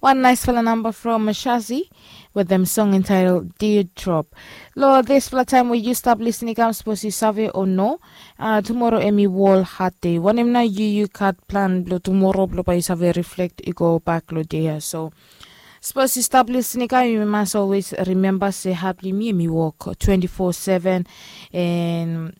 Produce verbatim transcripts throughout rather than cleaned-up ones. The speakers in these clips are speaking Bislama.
Wan naisfala namba from Shazi wetem song entitled Dear Drop. Lo dispela taim we yu stap lisin i kam, sapos yu save o no, uh, tumoro em i wol hat de. Wanem na yu yu gat plan blo tumoro blo bai yu save reflekt i go bak lo de ya. So sapos yu stap lisin i kam, yu mas always rimemba se hat blo yumi em i wok twenty-four seven. And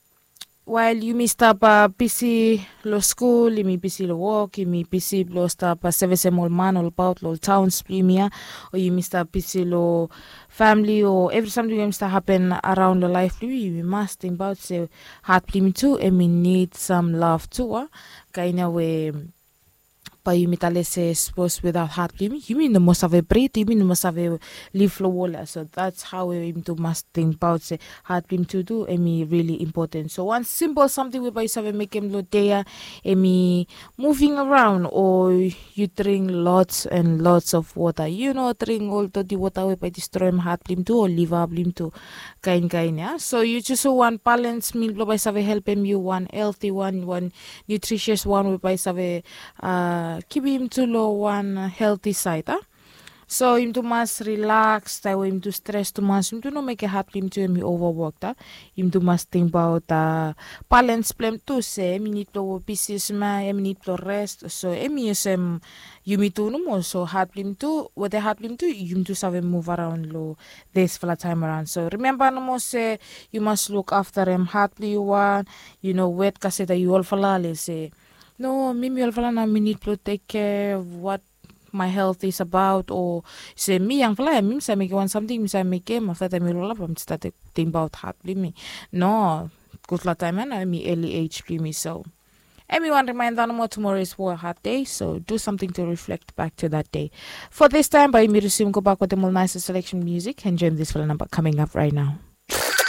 wael yumi stap bisi lo skul, yumi bisi lo wok, yumi bisi blo stap sevisem ol man olbaot lo ol taons blo yumi ya, o yumi stap bisi lo famili o evri samting we yumi stap hapen araon lo laef blo yumi, yumi mas tingbaot se hat blo yumi tu em i nid sam lav tu, a. Kain ya we bai yumi tale se sapos without hat blo yumi, yumi no moa save brit, yumi no moa save liv lo wol ya. So that's how yumi tu mas tingbaot se hat blo yumi tu tu em i rili impoten. So wan simpol samting we bai yu save mekem lo de ya, em i moving around, o yu dring lots and lots of water. Yu no dring ol doti wota we bai distroem hat blo yumi tu o liva blo yumi tu, kain kain ya. So yu jus wan balans mil blo bai save helpem yu, wan helti wan, wan nutrisias wan we bai save uh, kipim tu lo wan helti saed, a. So yumi tu mas rilaks taem we yumi tu stres tumas, yumi tu no mekem hat blo yumi tu em i ovawok, a. Yumi tu mas tingbaot balans blo em tu, se em i nid blo bisi sma, em i nid blo res. So em i olsem yumi tu nomo, so hat blo yumi tu, wetem hat blo yumi tu yumi tu save muv araon lo dispela taem araon. So rimemba nomo se yu mas luk aftarem hat blo yu wan. Yu no wet kaseta yu olfala le se, no, mi mi olfala nao mi nid blo tek kea wat my health is about, o se mi yangfala ya mi mi save mekem wan samting, mi save mekem, afta taem mi olfala bae mi stat tingbaot hat blo yumi. No, gutpela taem ya nao em i eli ej blo yumi. So em i wan rimainda nomo, tomorrow is for a hard day, so do something to reflect back to that day. For this time, bai yumi resume go back wetem ol nice selection music and join this fela number coming up right now.